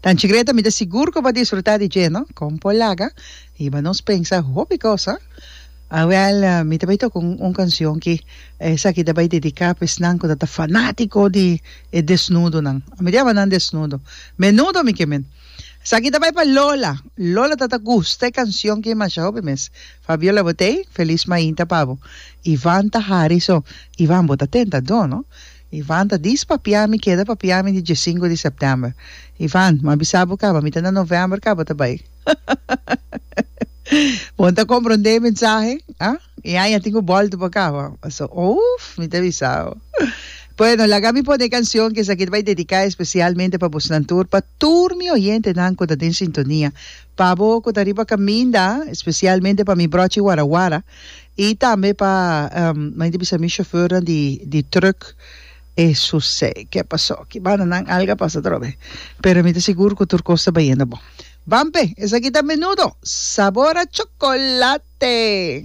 Tanchi Greta, mi ta sigur ku bo a disfrutá di dje, no? Kon por laga hiba nos pensa hopi kos, ha? Awèl, mi ta bai toka un kanshon ki esaki ta bai dediká pa esnan ku ta ta fanátiko di e desnudonan. Mi ta yama nan desnudo. Menudo mi ke men. Esaki ta bai pa Lola. Lola ta ta gusta e kanshon ki masha hopi mes. Fabiola bo t'ei? Felis mainta pa bo. Ivan ta hari so. Ivan bo ta tentadó no. Ivan ta dis papia mi keda papia mi di diesinku di sèptèmber. Ivan, m'a bisa bo kaba mi ta na novèmber kaba ta bai. Bo ta komprondé e mensahe? Ah? E aña tin ku bòltu pa kaba. Paso, ouf, mi ta bisa bo. Bueno, laga mi pone e kansion ku esaki ta bai dediká espesialmente pa bosnan tur, pa tur mi oyentenan ku ta den sintonia, pa bo ku ta riba kaminda, espesialmente pa mi bròchi warawara, i tambe pa, mi ta bisa mi shofèrnan di di trùk. E susé ke pasó ki banda nan alga pasa atrobe pero mi ta sigur ku tur kos ta bayendo bon. Ban p'e, esaki ta Menudo, sabor a chocolate!